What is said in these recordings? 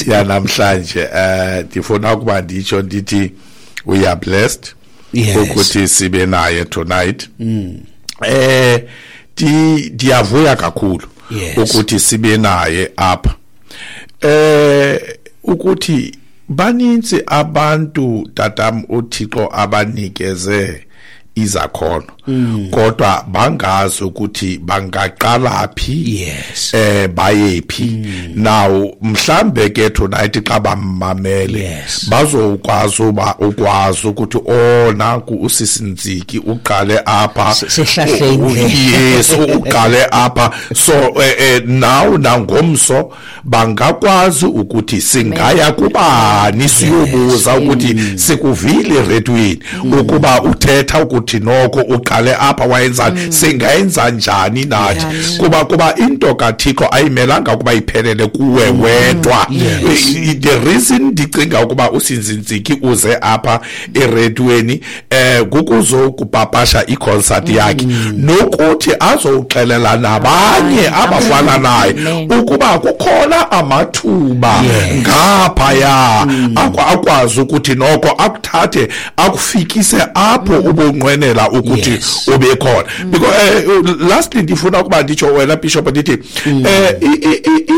Yanamhlanje, ndifuna ukuba nditsho ndithi we are blessed ukuthi sibe naye tonight. Ndiyavuya kakhulu ukuthi sibe naye apha. Ukuthi baninzi abantu, tatam, uThixo abanikeze izakhono, kodwa bangazi ukuthi bangaqala phi, bayephi. Now mhlambe ke tonight xa bamamele, bazokwazi uba ukwazi ukuthi, oh, nanku usisi Ntsiki uqale apha. Sihlahle indlela. Yes, uqale apha. So now nangomso bangakwazi ukuthi singaya kubani siyobuza ukuthi sikuvile eredweni ukuba uthetha ukuthi noko uqale apha, wayenzani, singayenza njani nathi, kuba into kaThixo ayimelanga ukuba iphelele kuwe wedwa. The reason ndicinga ukuba usisi Ntsiki uze apha eredweni kukuzokupapasha iconcert yakhe nokuthi azowuxelela nabanye abafana naye ukuba kukhona amathuba ngaphaya akwazi ukuthi noko akuthathe akufikise apho ubunqwenela ukuthi ube khona. Because lastly ndifuna ukuba nditsho, wena Bishop, ndithi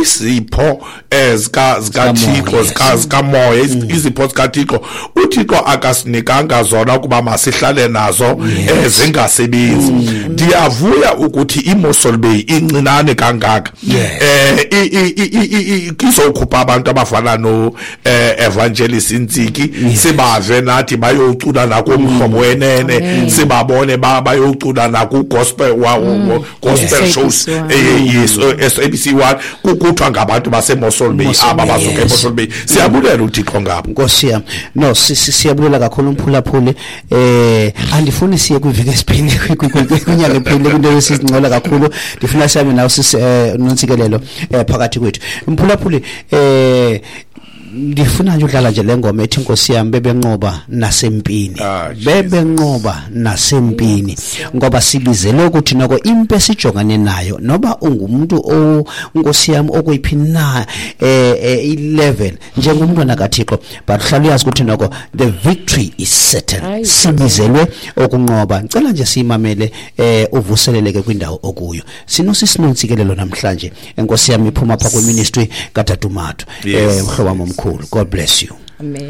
izipho zikaThixo, zikamoya, izipho zikaThixo, uThixo akasinikanga zona ukuba masihlale nazo zingasebenzi. Ndiyavuya ukuthi iMossel Bay incinane kangaka izokhupha abantu abafana no Evangelist Ntsiki, sibave nathi bayocula nakuMhlobo Wenene, sibabone bayocula naku gospel gospel shows. SABC 1. Yes, SABC 1, kukuthiwa ngabantu baseMossel Bay Mossel aba Bay, basuka eMossel Bay. Siyabulela uThixo ngabo. Nkosi yam, no, siyabulela kakhulu, umphulaphuli. Andifuni siye kwiveki esiphile, kwinyanga ephile, kwinto esingcola kakhulu. Ndifuna sihambe nawe, sisi Nontsikelelo, phakathi kwethu, mphulaphuli. Ndifuna nje udlala nje le ngoma ethi, Nkosi yam, bebenqoba nasempini. Ah, Jesus. Bebenqoba nasempini, ngoba sibizelwe ukuthi noko impi esijongane nayo, noba ungumuntu o Nkosi yam okwiphi na i-level njengomntwana kaThixo, but uhlala uyazi ukuthi noko the victory is certain. Hayi. Sibizelwe ukunqoba. Ngicela nje siyimamele, uvuseleleke kwindawo okuyo. Sinosisi Nontsikelelo namhlanje, enkosi yami, iphuma pha kwiministry kaTatumathu. Mhlobo wami omkhulu, God bless you. Amen.